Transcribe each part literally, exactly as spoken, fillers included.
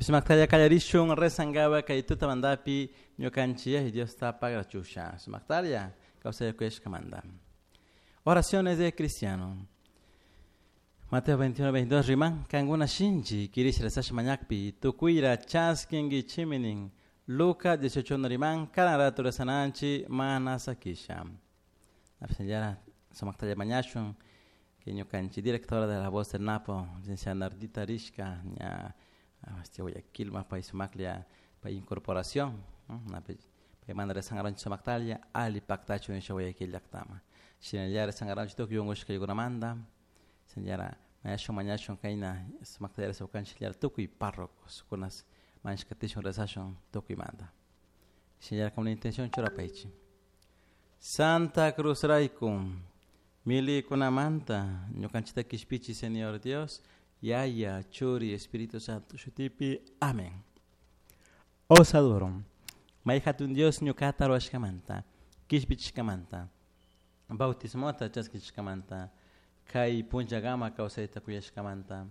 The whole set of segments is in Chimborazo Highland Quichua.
Sumaktalla kallarishun rezangaba kay tutamantapi ñukanchik Diosta pagrachusha. Sumaktalla kawsayakuyashkamanta. Oraciones de cristiano. Mateo veintiuno, veintidós riman, kankuna shinchi kirish rezash mañakpi, tukuyra chaskinkichiminin. Lucas dieciocho riman, karan rato rezananchi mana sakisha. Señora, sumaktalla mañashun, que ñukanchik directora de La Voz del Napo, licenciada Nardita Rishka, ña este Guayaquil, más país sumaklia, pa incorporación, pa manda rezangaranchi sumaktalla, ali pactachu nisha Guayaquil llaktama. Shinallara rezangaranchi tukuy unkushka yaykunamanta, señora, mañashun mañashun kayna sumaktalla rezawkanchik llara tukuy párrocos kunas mañashkatishun rezashun tukuymanta. Señora, con la intención churapaychi. Santa Cruz rayku, milikunamanta, ñukanchikta kishpichi, Señor Dios, Yaya, Churi, Espíritu Santo, shutipi, amén. Os adoro. May hatun Dios ñukata ruwashkamanta, kishpichishkamanta, bautismota chaskishkamanta, kay punllakama kawsayta kuyashkamanta.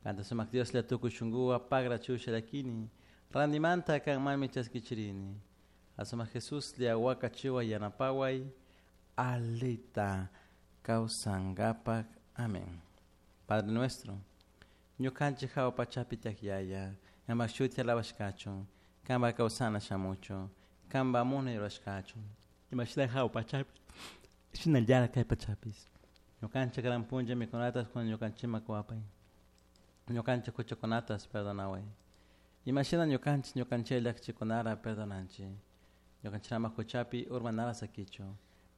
Kanta sumak Dios la tukuy shunkuwa pagra chusha llakini, randimanta kanmanmi chaskichirini. Asumak Jesús lia wakachiwa yanapaway, alita kawsankapak. Amén. Padre nuestro, ñukanchik hawa pachapi tiyak Yaya, kanpak shuti alabashkachun, kanpak kawsana shamuchun, kanpak munay rurashkachun, imashina hawa pachapi, shinallara kay pachapis. Ñukanchik karan punlla mikunatas kun ñukanchikman kuwapay. Ñukanchik huchakunatas perdonaway. Imashina ñukanchik ñukanchik llakchikunara perdonanchik. Ñukanchikama huchapi urmanara sakichu.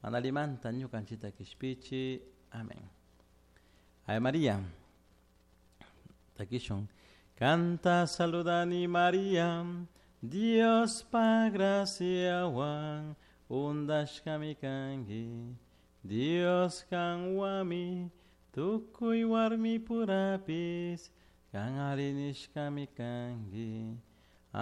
Mana limanta ñukanchikta kishpichi. Amén. Ave María. Takishun. Canta saludani María, Dios pa graciawan undashkami kanki. Dios kanwami tukuy warmi purapis kan ari nishkami kanki.